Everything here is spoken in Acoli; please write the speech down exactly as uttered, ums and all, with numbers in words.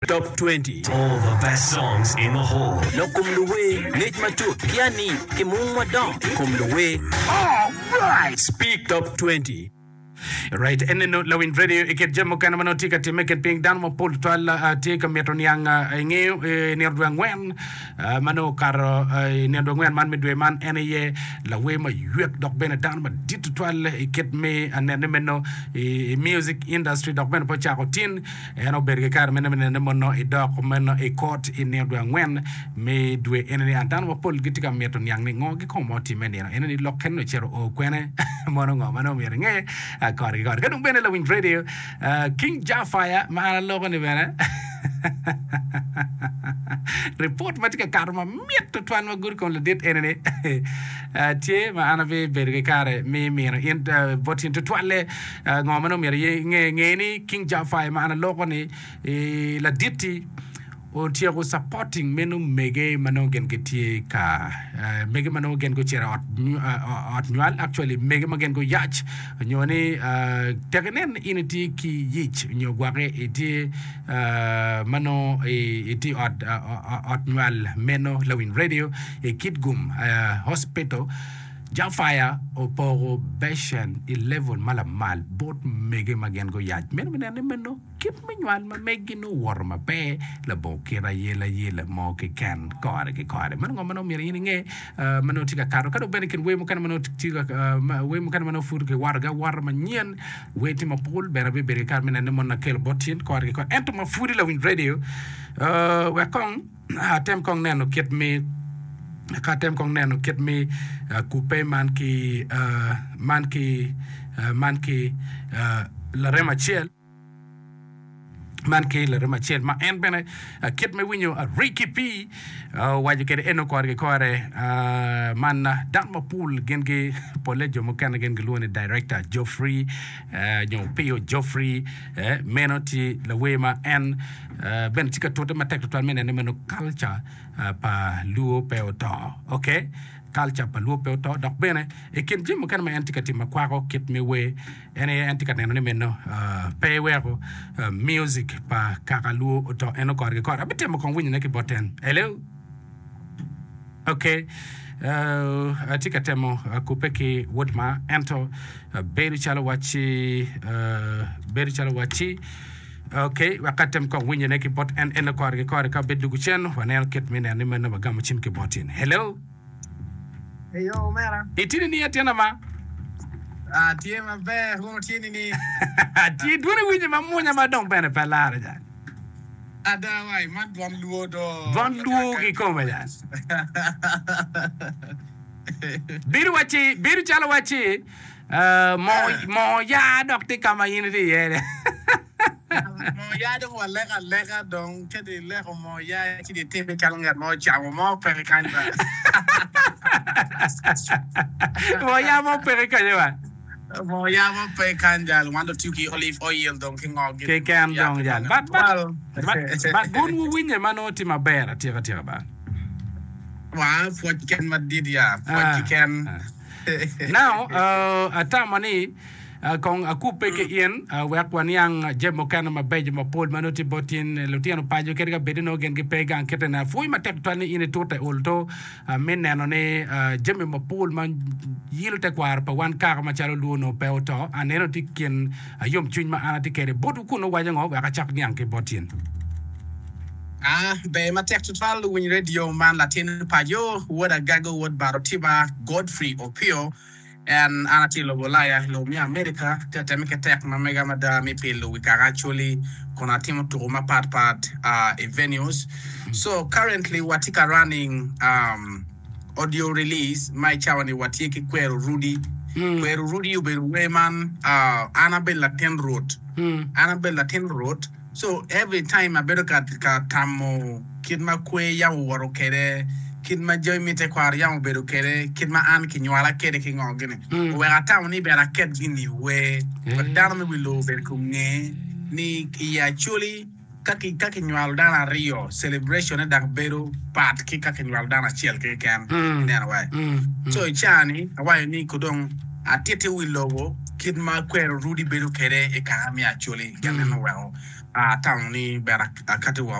Top twenty. All the best songs in the hall. Lok kom luwer, ngec matut ki ani ki mung madongo i kom luwer. Speak Top twenty. Right, eneno lawiny radio i kin jami mukene ma nongo tye ka timme i kin piny dano mapol tutwal uh, tye ka mito niang uh, ingeyo eh, nino dwe angwen uh, ma nongo okato uh, i nino dwe angwen man me dwe man en aye lawer maywek dok bene dano madit tutwal i kit me anene meno i, i music industry dok bene pe ocako tin En obedo ki kare mene me nene mono idok meno i kot i nino dwe angwen me dwe enini. A Dano mapol gitye ka mito niang ni ngo kikome ma otimme i nino enini. Lok kene ocito o kwene? Mono ngo ma nongo myero inge kore ki kore. Ka dong bene lawiny radio King Jah Fire ma an aloko ni bene ripot ma tye ka kato mamit tutwal ma gudo kom ladit enini tye ma an abibedo ki kare me mino in bot in tutwalle. Ngo ma nongo myero inge? Nge ni King Jafar ma an aloko ni ladit-ti otyeko supporting meno mege ma nongo gin gitye ka mege ma nongo gin gucito i ot nywal actually mege ma gin guyac nyo ni tek inen ni in itye ki yic nyo gwake itye ma nongo itye i ot nywal meno lawiny radio i Kitgum Hospital. Jafaya opoko becen i level ma lamal bot mege ma gin guyac. Meno me neno ni meno kit me nywal ma meggi nongo owoto maber labongo kit ayelayela mo keken kore ki kore. Meno ngo ma nongo myero in inge ma nongo tye ka kato. Ka dong bene i kin wer mukene ma nongo tye ka wer mukene ma nongo pud kiwotogi awota manyen, wer tye mapol bene abibedo ki kare me neno ni mono akelo bot in kore ki kore. Ento ma pudi lawiny radio wek kong Atem kong neno kit me ka atem kong neno kit me kubbe man ki man ki man ki larem acel man ki larem acel ma en bene kit me winyo Ricky P owaco kwede eno kore ki kore man dano mapol gin gi pole jo mukene gin gilwongo ni director Geoffrey nyo Opiyo Geoffrey meno tye lawer ma en bene tye ka tute matek tutwal me neno ni meno kalca pa Luo pe oto. Ok, kalca pa Luo pe oto. Dok bene i kin jami mukene ma en tye ka timo ma kwako kit me wer, en aye en tye ka neno ni meno pe eweko music pa kaka Luo oto eno kore ki kore. Abitemo kong winyone ki bot en. Hello? Ok, atye ka temo kubbe ki wod ma ento bedo calo wacci bedo calo wacci Ok, wek atem kong winyone ki bot en eno kore ki kore ka obed dugu cen, waneno kit me neno ni meno wagamo cim ki bot in. Hello? Eyo, omera. Itye nining atyena ma? Atye maber, wun wutye nining? Atye, dwoni winye ma mwonya ma dong bene pe lare jang. Ada wai, man dwon luo do. Dwon luo kikome jang. Bedo wacci, bedo calo wacci Moo yaa dok tye ka ma in itye iye-ni. Moo yaa dong waleko aleka dong ka dong ileko moo yaa ci dong itimme calo ngat ma ocamo mo peke kany ba. Moo yaa mo peke kenyo ba. Moo yaa mo pe kany jal wan dong tiyo ki olive oil dong ki ngo gini. Keken dong jal. But but but wun wuwinye ma nongo tye maber atika tika ba. Waa pwoc keken madit ya pwoc keken. Now, atamo ni kong akubbe ki in wek waniang jami mukene mabeco mapol ma nongo tye bot in. Lutino paco kadi ka bed ni nongo gin gipe gang kite ni apwoyi matek tutwal ni in itute olto me neno ni jami mapol ma yilo tekwaro pa wan kaka macalo luo nongo pe oto. Aneno tye kin yomcwiny ma an atye kwede botwu kun wuwaco ngo wek acak niang ki bot in. A Ber matek tutwal luwiny radio man latin paco wod Agago wod Bar Otiba Godfrey Opio en an atye i lobo Ulaya i lobo me America atye ka teme ki tek ma mega mada me pilo wi kaka Acholi kun atimo tuku mapat pat i venues so currently watye ka running um, audio release ma i cawa ni watye ki Kwero Rudi Kwero Rudi obedo wer man uh, an abedo latin Rwot an abedo latin Rwot So every time abedo ka ka tamo kit ma kwer yam owoto kwede, kit ma jami me tekwaro yam obedo kwede, kit ma an kinywala kwede ki ngo gini, oweko atamo ni ber aket gin i wer wek dano me wi lobo obed ka onge ni i Acholi ka ki ka kinywalo dano aryo celebration ne dok bedo pat ki ka kinywalo dano acel keken. Ineno wai? So i caa ni awaco ni ko dong atitti wi lobo kit ma kwero rudi bedo kwede i kaka me Acholi. Gin meno oweko Atamo ni ber akati woko.